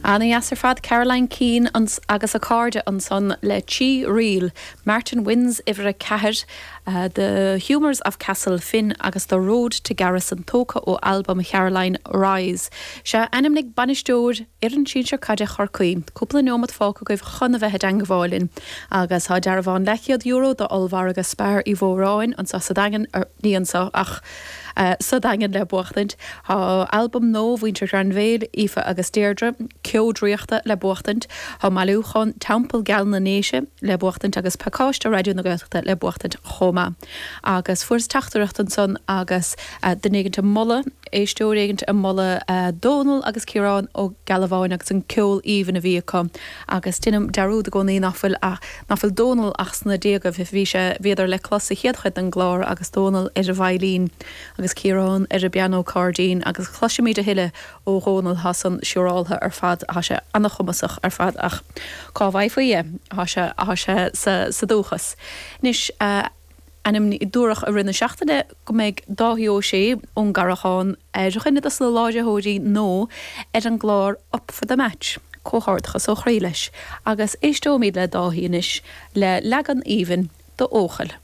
Ana-dheas ar fad Caroline Keane agus a cairde ansan le Trí Ríl, Martin Wins uimhir 4, The Humours of Castle Finn agus The Road to Garrison tógtha ó albam Charoline, Rise. Sea, ainmnigh bainisteoir fhoireann sinsir caide Chorcaí. Cúpla neomat fágtha agaibh chun a bheith i dteangmháil linn. Agus tá dearbhán leathchéad euro d'ollmhargadh Spar Uí Mhóráin anseo sa Daingean, ní anseo ach sa Daingean le buachtaint. Tá albam nua mhuintir Ghrainbhéil, Aoife agus Deirdre, Ceo Draíochta le buachtaint. Tá bailiúchán Teampall Geal na nDéise le buachtaint agus pacáiste Raidió na Gaeltachta le buachtaint chomh maith. Agus fuaireas teachtaireacht ansan agus duine éigint ag moladh, éisteoir éigint ag moladh Dónal agus Ciarán Ó Gealbháin agus an ceol aoibhinn a bhí acu. Agus deinim dearúd i gcónaí nach bhfuil ach, nach bhfuil Dónal ach sna déagaibh. Bhí sé, bhíodar le clos sa chéad chuid den gclár agus Dónal ar an veidhlín agus Ciarán ar an bpianó cairdín agus cloisfimid a thuilleadh ó Dhónal, tá san siúráltha ar fad, tá sé ana-chumasach ar fad ach cá bhfaighfí é? Tá sé, tá sé sa, sa dúchas. Anois, ainm, dúradh i rith na seachtaine go mbeidh Dáithí Ó Sé ón gCarrachán ar dhuine dos na láithreoirí nua ar an gclár Up for the Match. Comhghairdeachas ó chroí leis agus éisteoimid le Dáithí anois le leagan aoibhinn d'Eochaill.